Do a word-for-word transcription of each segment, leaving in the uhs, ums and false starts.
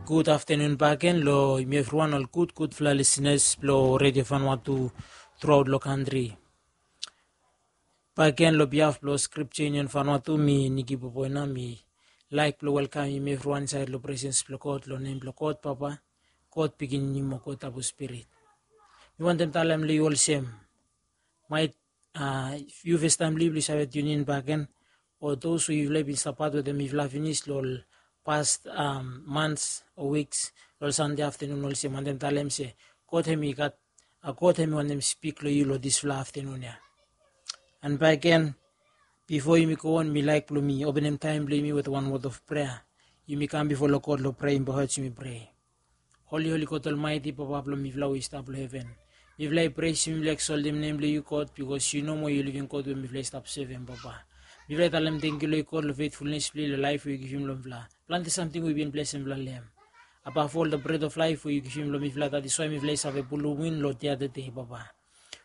Gud aftenun bakegen long yumi evriwan, ol gud gudfala lisenas blong Redio Vanuatu truaot long kantri. Bakegen long bihaf blong Skripja Yunion Vanuatu, mi Niki Boboina, mi laek blong welkamem yumi evriwan insaed long presens blong God, long nem blong God Papa, God Pikinini mo God Tabu Spirit. Mi wantem talem long yu olsem, maet yu fastaem blong yu blong yu save tiunin bakegen, o dos we yufala i bin stap pat wetem mifala finis long ol pas mans o wiks, long ol Sande aftenun olsem, wantem talem se God hem i gat, God hem i wantem spik long yu long disfala aftenun ya. And bakegen, bifo yumi go on, mi laek blong mi openem taem blong yumi wetem wan wod of prea. Yumi kam bifo long God long prea, bow head yumi prea. Holi, holi God Olmaeti, Papa blong mifala we i stap long heven, mifala i pres, mifala i eksoltem nem blong yu God, bikos yu nomo yu living God we mifala i stap sevem, Papa. Mifala i talem tangkiu long yu God long fetfulnes blong yu long laef we yu givim long mifala. Plante samting we yu bin blesem mifala long hem. Above all, the bread of life we yu givim long mifala, that is why mifala i save pulum win long the other day, Papa.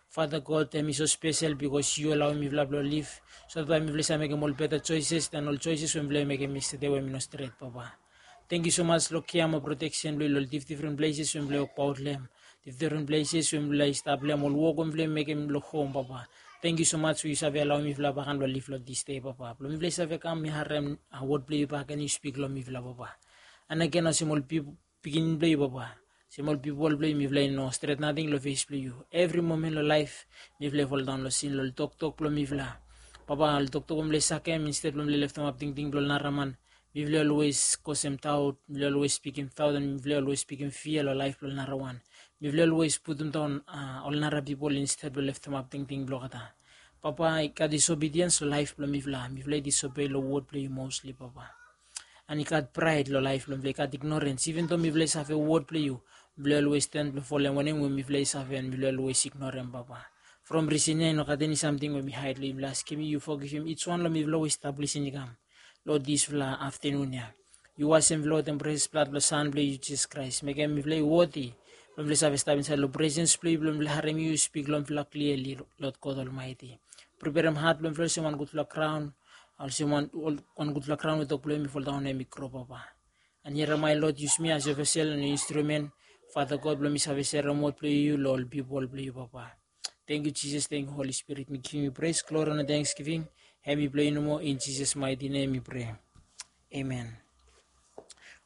Father God, hem i so spesel bikos yu alaoem mifala blong liv, so that bae mifala i save mekem ol beta choices than ol choices we mifala i mekem yestede we hem i no stret, Papa. Tangkiu so much long kea mo proteksen blong yu long difdifren places we mifala i wokbaot long hem, difdifren places we mifala i stap long hem, ol wok we mifala i mekem long hom, Papa. Tangkiu so much we yu save alaoem mifala bakegen blong liv long this day, Papa, blong mifala i save kam mi harem wod blong yu bakegen, yu spik long mifala, Papa. And again, olsem ol pip- pikinini blong yu, Papa, olsem ol pipol blong yu, mifala i no stret nating long fes blong yu. Evri momen long laef mifala i foldaon long sin, long ol toktok blong mifala, Papa, ol toktok we mifala i sakem, insted blong mifala i leftemap tingting blong ol naraman, mifala i olwes kosem daot, mifala i olwes spikim daot, and mifala i olwes spikim fia long laef blong ol narawan. Mifala i olwes putumdaon ol nara pipol insted blong leftemap tingting blong olgeta. Papa, i gat disobediens long laef blong mifala. Mifala i disobei long wod blong yu mostly, Papa. And i gat praed long laef blong mifala, i gat ignorens. Even though mifala i save wod blong yu, mifala i olwes tan blong folem wanem we mifala i save, and mifala i olwes ignorem, Papa. From risen ya i no gat eni samting we mi haed long yu. Mifala i askem yu, yu fogivim each wan long mifala we i stap lisin i kam long disfala aftenun ya. Yu wasem mifala wetem pres blad blong San blong yu, Jisas Kraes. Mekem mifala i woti blong mifala i save stap insaed long presens blong yu, blong mifala i harem yu spik long mifala kliali, Lord God Almighty. Preperem hat blong mifala olsem wan gudfala graon, olsem wan gudfala graon we tok blong hem i foldaon, hem i gro, Papa. And hiaram, my Lord, yusum mi as yu vesel and yu instrumen, Father God, blong mi save serem wod blong yu long ol pipol blong yu, Papa. Tangkiu Jisas, tangkiu Holi Spirit. Mi givim yu pres, glori and tangsgiving. Hem i blong yu nomo. In Jisas maeti nem mi prea. Amen.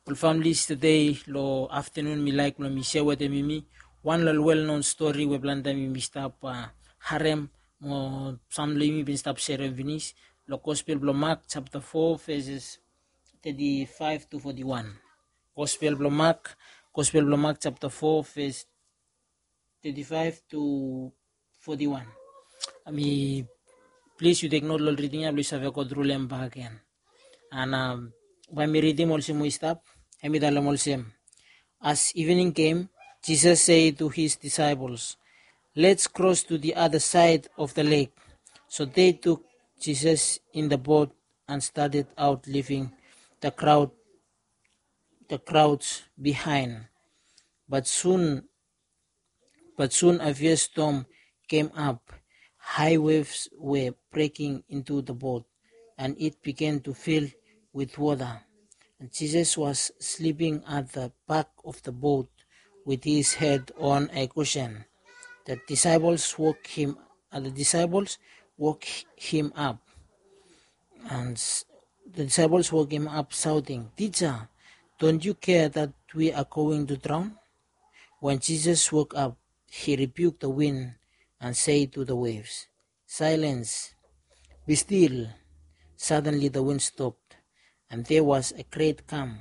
Ol famili, tede long aftenun mi laek blong mi sea wetem yumi wan long ol welknon stori we plante taem yumi stap harem, mo sam long yumi bin stap serem finis, long Gospel blong Mak japta fo, veses teti faef tu foti wan. Gospel blong Mak, Gospel blong Mak japta fo, ves teti faef tu foti wan. Mi plis yu tek not long ol riding ya blong yu save gotru long hem bakegen. And bae mi ridim olsem we i stap. Hem i talem olsem, as evening came, Jesus said to his disciples, "Let's cross to the other side of the lake." So they took Jesus in the boat and started out, leaving the crowd, the crowds behind. But soon But soon a fierce storm came up. High waves were breaking into the boat, and it began to fill with water. And Jesus was sleeping at the back of the boat with his head on a cushion. The disciples woke him, uh, the disciples woke him up. And s- the disciples woke him up, shouting, "Teacher, don't you care that we are going to drown?" When Jesus woke up, he rebuked the wind and said to the waves, "Silence, be still." Suddenly the wind stopped, and there was a great calm.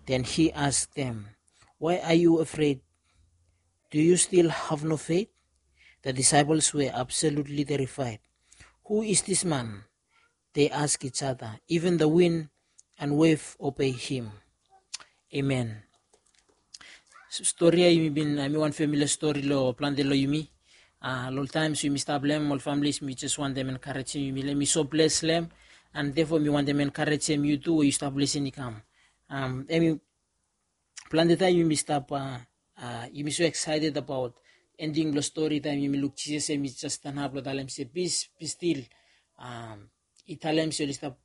Then he asked them, "Why are you afraid? Do you still have no faith?" The disciples were absolutely terrified. "Who is this man?" they asked each other. "Even the wind and wave obey him." Amen. Stori ya yumi bin, hem i wan familia stori long plante long yumi. Long ol taems we yumi stap long hem, ol familis, mi jes wantem enkarejem yumi long hem. Mi so bles long hem, and therefore mi wantem enkarejem yu tu we yu stap lisin i kam. Hem i plante taem yumi stap, yumi so excited abaot ending blong stori taem yumi luk Jisas hem i jes stanap blong talem se, "Peace, be still." I talem se oli stap,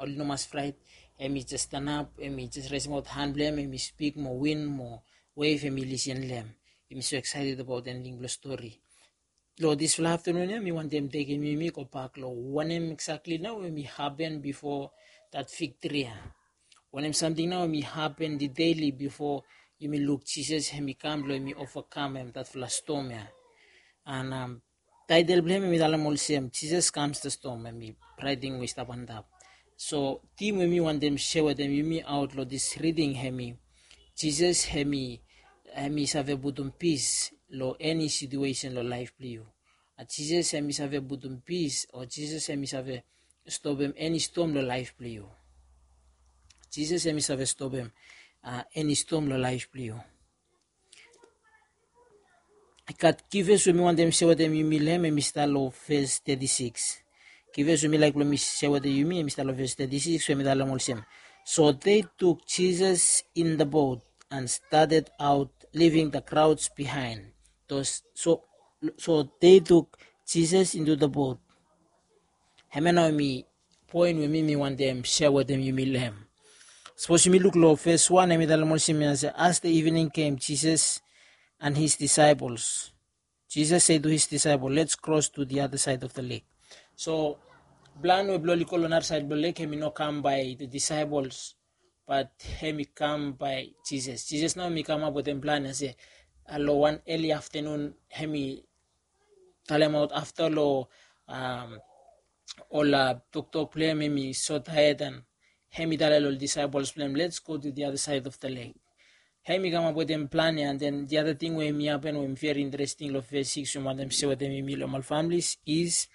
oli no mas fraet. Hem i jes stanap, hem i jes resemaot han blong hem, hem i spik mo win mo wef, hem i lisin long hem. Hem i so excited abaot ending blong stori. Long dispela aftanun ya mi wantem tekem yumi go bak long wanem exactly nao hem i hapen bifo dat fik tri ya. Wanem samting nao hem i hapen detaili bifo yumi luk Jisas hem i kam blong hem i ovakamem datfala stom ya. And um, title blong hem hem i talem olsem, Jisas kams the storm, hem i raeting we i stap antap. So tim we mi wantem share wetem yumi aot long dis reading hem i, Jisas hem i hem i save putum pis long eni situation long laef blong yu. A Jisas hem i save putum pis, o Jisas hem i save stopem eni stom long laef blong yu. Jisas hem i save stopem uh, eni stom long laef blong yu. I gat kifes we mi wantem share wetem yumi long hem, hem i stap long ves thirty-six. Kifes we mi laik blong mi share wetem yumi, hem i stap long ves thirty-six, we mi talem olsem, so they took Jesus in the boat and started out, leaving the crowds behind. Those, so, so they took Jesus into the boat. Hemia nao mi poen we mi mi wantem share wetem yumi long hem. Sapos yumi luk long ves wan, hem i talem olsem ya se, as the evening came, Jesus and his disciples. Jesus said to his disciple, let's cross to the other side of the lake. So plan we blong oli go long nara saed blong lek, hem i no kam bae the disciples, but hem i kam bae Jisas. Jisas nao hem i kamap wetem plan ya se, uh, long wan eli aftanun hem i talemaot afta long um, ol uh, toktok blong hem, hem i so taed, and hem i talem long ol disciples blong hem, let's go to the other side of the lake. Hem i kamap wetem plan ya, and then the other thing we hem i hapen we hem i very interesting long ves six, we mi wantem share wetem yumi long ol families is,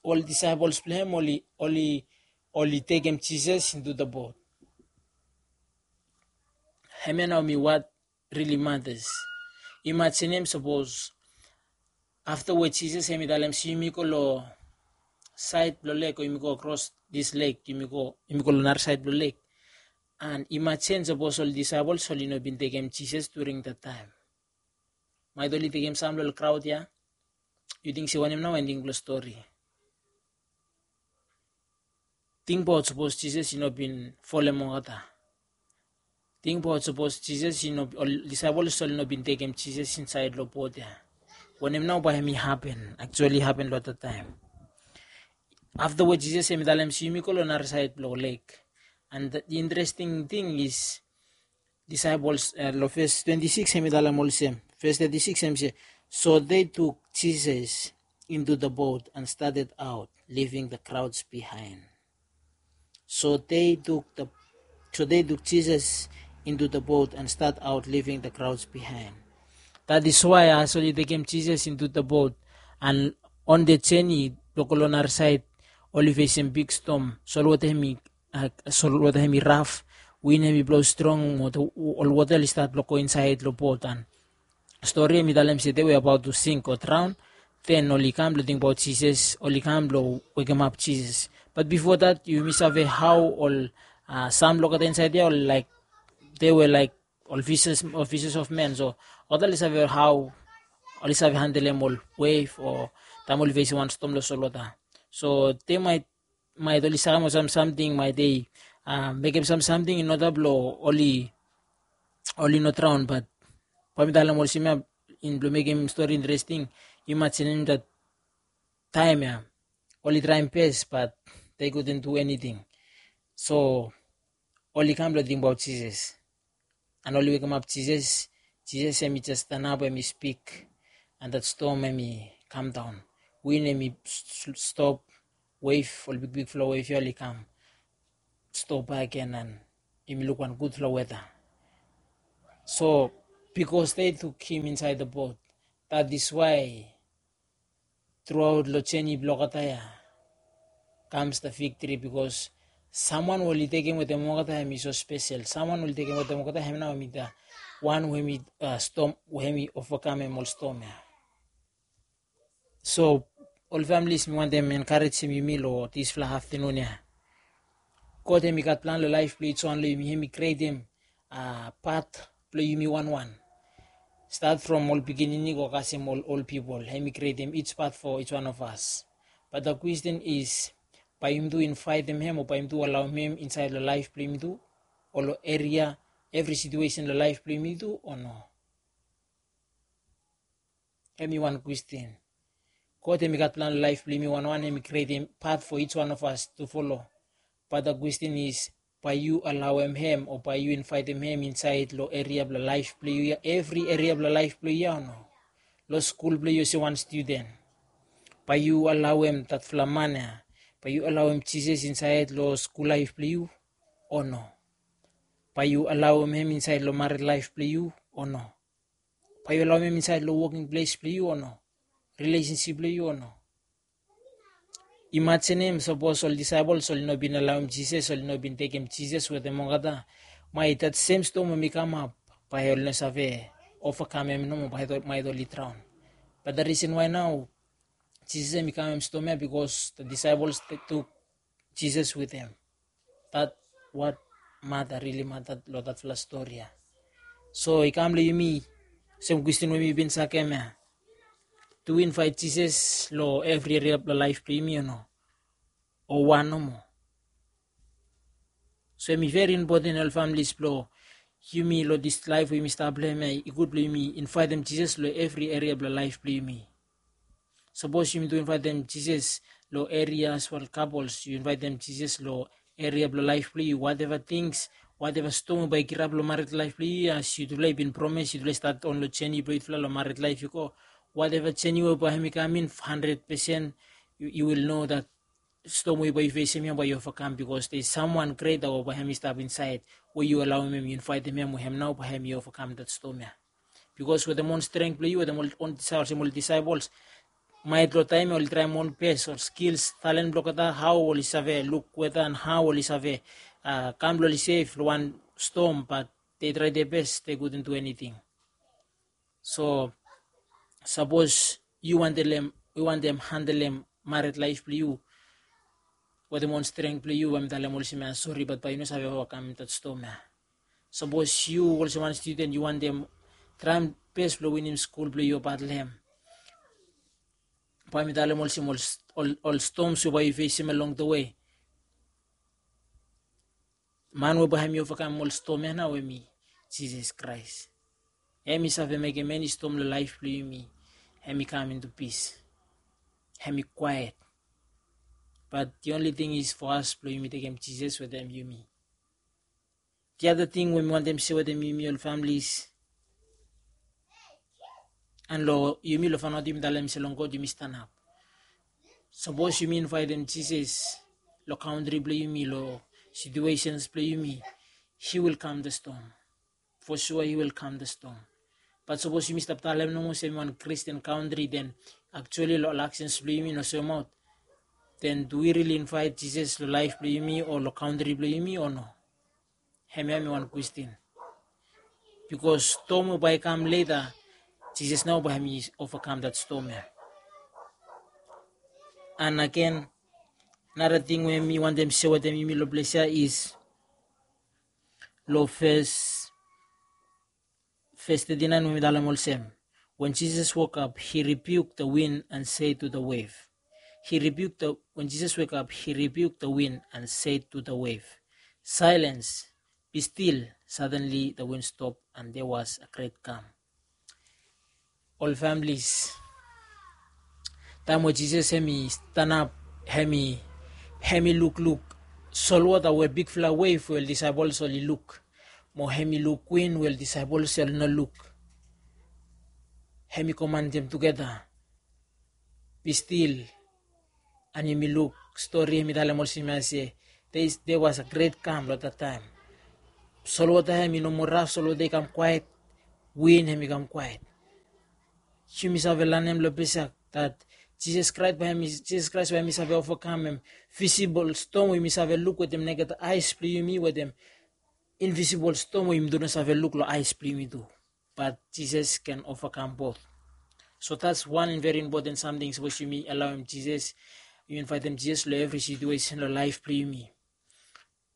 ol disciples blong hem oli, oli, oli tekem Jisas into the boat. Hemia nao mi what really matters. Imajinim sapos afta we Jisas hem i talem se yumi go long saed blong lek, o yumi go kros dis lek, yumi go, yumi go long nara saed blong lek. And imajin sapos ol disciples oli no bin tekem Jisas during that time. Maet oli tekem sam long ol kraod ya. Yu ting se wanem nao ending blong stori? Tingbaot sapos Jisas i no bin folem olgeta. Tingbaot sapos Jisas i no, ol disciples oli no bin tekem Jisas insaed long bot ya. Wanem nao bae hem i hapen, actually hapen long that time? Afta we Jisas hem i talem se yumi go long nara saed blong lek. And the interesting thing is, disciples, uh, long ves twenty-six hem i talem olsem, ves thirty-six hem i se, so they took Jesus into the boat and started out, leaving the crowds behind. So they took the, so they took Jesus into the boat and start out, leaving the crowds behind. That is why as oli tekem Jisas into the boat, and on the journey blong go long nara saed, oli fesem big storm. Solwota hem i, uh, solwota hem i raf, win hem i blo strong, mo ol wota oli stat blong go insaed long bot, and stori hem i talem se they were about to sink o draon. Then oli kam blong tingbaot Jisas, oli kam blong wekemap Jisas. But bifo that, yumi save hao ol, uh, sam long olgeta insaed ya, ol laik, they were like ol fishes, ol fishes of men. So olgeta oli save hao oli save handelem ol wef o taem oli fesem wan stom long solwota. So they might, maet oli sakem ol sam samting, maet they, uh, mekem sam samting in order blong oli, oli no draon. But bae mi talem olsem ya, in blong mekem stori interesting, imajinim that taem ya oli traem bes, but they couldn't do anything. So oli kam blong tingbaot Jisas, and oli wekemap Jisas. Jisas hem i jes stanap, hem i spik, and that storm hem i kam daon. Win hem i stop, wef, ol bigbigfala wef ya oli kam stop bakegen, and yumi luk wan gudfala weta. So because they took him inside the boat, that is why thruaot long jeni blong olgeta ya comes the victory, because samwan we oli tekem wetem olgeta hem i so spesel. Samwan we oli tekem wetem olgeta hem nao hem i the wan we hem i, uh, stom, we hem i ovakamem ol stom ya. So ol families, mi wantem enkarejem yumi long disfala aftanun ya. God hem i gat plan long laef blong each wan long yumi. Hem i krietem, uh, pat blong yumi wanwan. Stat from ol pikinini go kasem ol ol pipol, hem i krietem each pat for each one of us. But the question is, Bae yumi tu invaetem hem o bae yumi tu alaoem hem insaed lo laef blo yumi tu, o lo eria, evri situesen lo laef blo yumi tu, o no? Hem i wan kwestin. God hem i gat plan lo laef blo yumi wanwan, hem i krietem path for each one of us to follow. But the question is, bae yu alaoem hem o bae yu invaetem hem insaed lo eria blo laef blo yu ya, evri eria blo laef blo yu ya, o no? Lo skul blo yu olsem wan studen, bae yu alaoem datfala man ya, bae yu alaoem Jisas insaed lo skul laef blo yu, o no? Bae yu alaoem hem insaed lo mared laef blo yu, o no? Bae yu alaoem hem insaed lo woking ples blo yu, o no? Rilesensip blo yu, o no? Imajinim sapos ol disaepol oli no bin alaoem Jisas, oli no bin tekem Jisas wetem olgeta, maet dat sem stom hem i kamap, bae oli no save ovakamem nomo, maet oli draon. But the reason why nao Jisas hem i kamem stom ya, because the disciples took Jesus with them. That what matter, really matter lo datfala stori ya. So i kam lo yumi, olsem kwestin we mi bin sakem ya, do wi invaet Jisas lo evri eria blo laef blo yumi, o no? O wan nomo? So hem i veri impoten, ol familis, blo yumi lo dis laef we yumi stap lo hem ya, i gud blo yumi invaetem Jisas lo evri eria blo laef blo yumi. Sapos yumi tu invaetem Jisas lo eria, as well couples, yu invaetem Jisas lo eria blo laef blo yu, wateva tings, wateva stom we bae i kirap lo mared laef blo yu, as yutufala i bin promes, yutufala i stat on lo jeni blo yutufala lo mared laef i go, wateva jeni we bae hem i kam in, handred pesen, you, you will know that stom we bae yu fesem ya bae yu ovakam, because there is someone greater we bae hem i stap insaed, we yu alaoem hem, yu invaetem hem, we hem nao bae hem i ovakam dat stom ya. Because wetem on strength blo yu, wetem on, on, olsem ol disaepols, maet lo taem ya oli traem on bes, ol skils, talen blo olgeta, hao oli save luk weta and hao oli save, uh, kam lo oli sef lo wan stom, but they try their best, they couldn't do anything. So sapos yu wantem, yu wantem handelem mared laef blo yu wetem on strength blo yu, bae mi talem olsem ya, sori, but bae yu no save ovakam dat stom ya. Sapos yu olsem wan studen, yu wantem traem bes blo winim skul blo yu, bat lo hem, bae mi talem olsem, ol, ol, ol stoms we bae yu fesem along the way, man we bae hem i ovakam ol stom ya nao hem i Jisas Kraes. Hem i save mekem eni stom lo laef blo yumi hem i kam into pis, hem i kwaet. But the only thing is for us blo yumi tekem Jisas wetem yumi. The other thing we mi wantem se wetem yumi, ol familis, and lo yumi, lo faenaot yumi talem se long God yumi stanap. Sapos yumi invaetem Jisas lo kantri blo yumi, lo situations blo yumi, he will calm the storm. For sure he will calm the storm. But sapos yumi stap talem nomo se yumi wan Christian kantri, then actually lo ol actions blo yumi no soemaot. Then do wi really invaet Jisas lo laef blo yumi o lo kantri blo yumi o no? Hemia hemi wan kwestin. Bikos stom we bae i kam leta, Jisas nao bae hemi ovakam dat stom ya. And agen, nara ting we mi wantem se wetem yumi lo ples ya is lo ves, ves thirty-nine we mi talem olsem, when Jesus woke up, he rebuked the wind and said to the wave. He rebuked the, when Jesus woke up, he rebuked the wind and said to the wave, "Silence, be still." Suddenly the wind stopped and there was a great calm. Ol families, taem we Jisas hemi stanap, hemi, hemi lukluk solwota we bigfala wave we ol disaepols oli luk, mo hemi luk win we ol disaepols oli no luk. Hemi komanem tugeta, "Be still." And yumi luk stori, hemi talem olsem ya se, there is, there was a great calm lo dat taem. Solwota hemi no moa raf, solwota i kam kwaet, win hemi kam kwaet. Yumi save lanem lo ples ya dat Jisas Kraes bae hemi, Jisas Kraes bae hemi save ovakamem visibol stom we yumi save luk wetem neked aes blo yumi, wetem invisibol stom we yumi tu no save luk lo aes blo yumi tu. But Jisas can overcome both. So that's one very important samting, sapos yumi alaoem Jisas, yumi invaetem Jisas lo evri situesen lo laef blo yumi,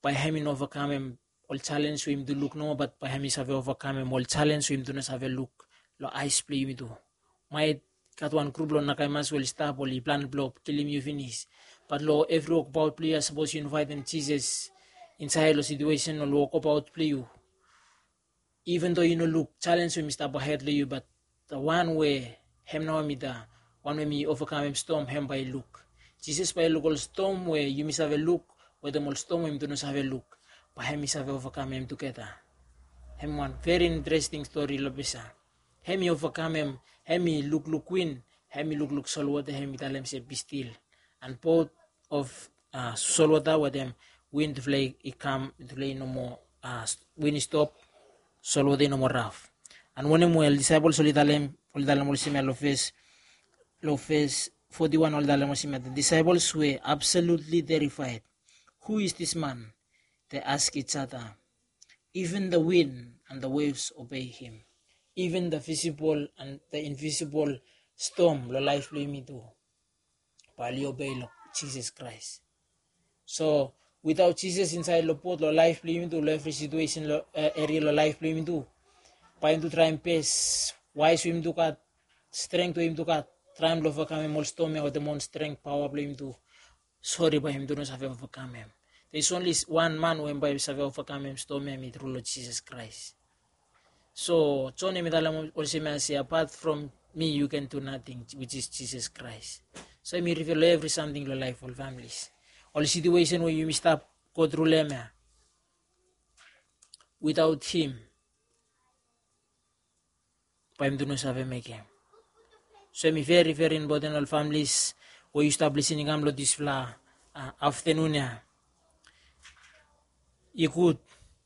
bae hemi no ovakamem ol jalenj we yumi tu luk nomo, bat bae hemi save ovakamem ol jalenj we yumi tu no save luk lo aes blo yumi tu. Maet gat wan grup lo nakaimas we oli stap, oli plan blo kilim yu finis. Bat long evri wokbaot blong yu, sapos yu invaitim Jisas insaed long situesen o wokbaot blong yu, even though yu no luk jalenj we mi stap ahed long yu, bat the one we hem nao mi da wan we mi ovakamem stom, hem bae i luk. Jisas bae i luk ol stom we yumi save luk wetem ol stom we yumi tu no save luk. Bae hem i save ovakamem tugeta. Hem wan veri interesting stori long ples ya. Hem i ovakamem, hem i lukluk win, hem i lukluk solwota, hem i talem se, "Be still." And both of uh, solwota wetem win tufala i kam, tufala i no moa, uh, win i stop, solwota i no moa raf. And wanem we ol disaepol oli talem, oli talem olsem ya long ves, long ves forty-one, oli talem olsem ya, the disciples were absolutely terrified. "Who is this man?" they ask each other. "Even the wind and the waves obey him." Even the visible and the invisible storm long laef blong yumi tu bae oli obei long Jisas Kraes. So without Jisas insaed long bot, long laef blong yumi tu, long evri situesen, long eria long laef blong yumi tu, bae yumi tu traem bes waes we yumi tu gat, strength we yumi tu gat, traem long ovakamem ol stom ya wetem ol strength, paoa blong yumi tu. Sori, bae yumi tu no save ovakamem. There is only one man we hem bae i save ovakamem stom ya, hem i tru long Jisas Kraes. So John hem i talem olsem ya se, "Apart from me you can do nothing," which is Jesus Christ. So hem i reveal long evri samting long laef ol families, ol situesen we yumi stap go tru long hem ya. Without him, bae yumi tu no save mekem. So hem i veri veri impoten ol families we yu stap lisin i kam long disfala aftanun ya. I gud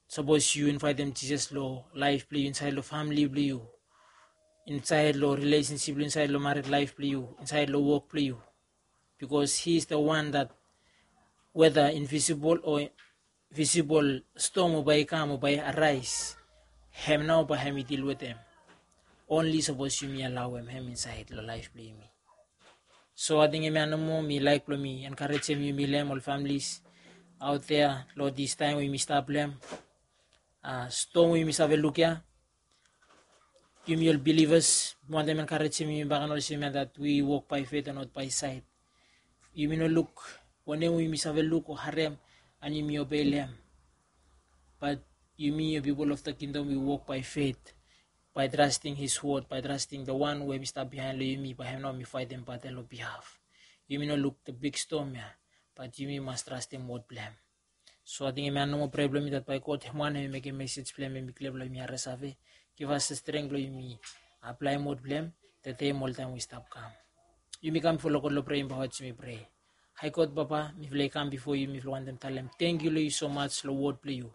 sapos yu invaetem Jisas long laef blong yu, insaed long famili blong yu, insaed long rilesensip blong yu, insaed long mared laef blong yu, insaed long wok blong yu. Because he is the one that whether invisible o visibol stom o bae i kam o bae i araes, hem nao bae hem i dil wetem. Onli sapos yumi alaoem hem insaed long laef blong yumi. So ating hemia nomo mi laek blong mi enkarejem yumi long hem, ol familis aot dea, long distaem we yumi stap long hem. Stom we yumi save luk ya, yumi ol bilivas, mi wantem enkarejem yumi baken olsem ya, that we walk by faith and not by sight. Yumi no luk wanem we yumi save luk o harem and yumi obei long hem. But yumi, ol pipol of the kingdom, we walk by faith, by trusting his word, by trusting the one we mi stap bihaen long yumi, bae hem nao mi faetem batel long bihaf. Yumi no luk the big storm ya, but yumi mas trastem word blong hem. So ating hemia nomo prea blong mi, that bae God hem wan hem i mekem mesej blong hem i klia blong yumi harim save, givas the strength blong yumi aplaem word blong hem the day mo oltaem we i stap kam. Yumi kam bifo long God long prea, bae yumi prea. Hae God Papa, mifala i kam bifo yu, mifala wantem talem tangkiu long yu so much long word blong yu.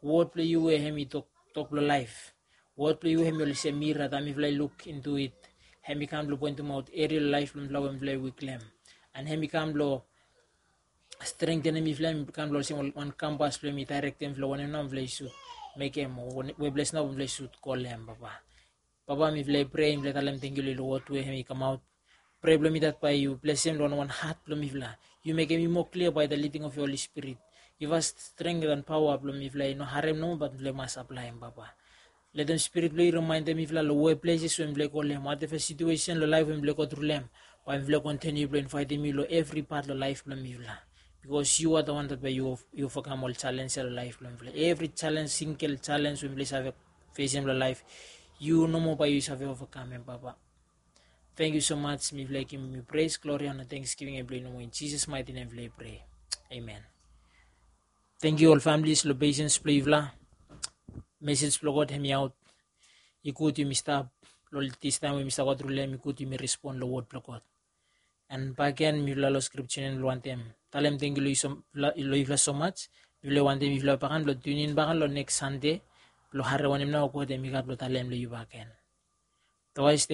Word blong yu we hem i tok, tok blong laef. Word blong yu hem i olsem mira, taem mifala i luk into it, hem i kam blong poentemaot eria long laef blong mifala we mifala i wik long hem. And hem i kam blong strengthenem mifala, hem i kam blong olsem wan kampas blong hem i daerektem mifala wanem nao mifala i sud mekem o we ples nao mifala i sud go long hem, Papa. Papa, mifala i prea, mifala i talem tangkiu long yu long word we hem i kamaot. Prea blong mi that bae yu blesem long wan hat blong mifala. Yu mekem i moa klia by the leading of your Holy Spirit. Givas strength and paoa blong mifala i no harem nomo, but mifala i mas aplaem, Papa. Letem Spirit blong yu rimaendem mifala long we pleses we mifala i go long hem, wateva situesen long laef we mifala i go tru long hem, bae mifala i kontiniu blong invaetem yu long evri pat long laef blong mifala. Because you are the one that bae yu, yu overcome ol jalenj ya long laef blong mifala. Evri jalenj, singel jalenj we mifala i save fesem long laef, yu nomo bae yu save overcome hem, Papa. Tangkiu so much. Mifala i givim yu praise, glory, honor, thanksgiving blong yu nomo, in Jesus' mighty name mifala i prea. Amen. Tangkiu ol families long patience blong yufala. Mesej blong God hem i aot. I gud yumi stap long distaem we yumi stap go tru long hem, i gud yumi respon long word blong God. And baken mifala long scripture nao mifala wantem talem tangkiu long yufala so much. Mifala wantem yufala baken blong tune in baken long next Sunday blong harem wanem nao God hem i gat blong talem long yu baken. Otherwise,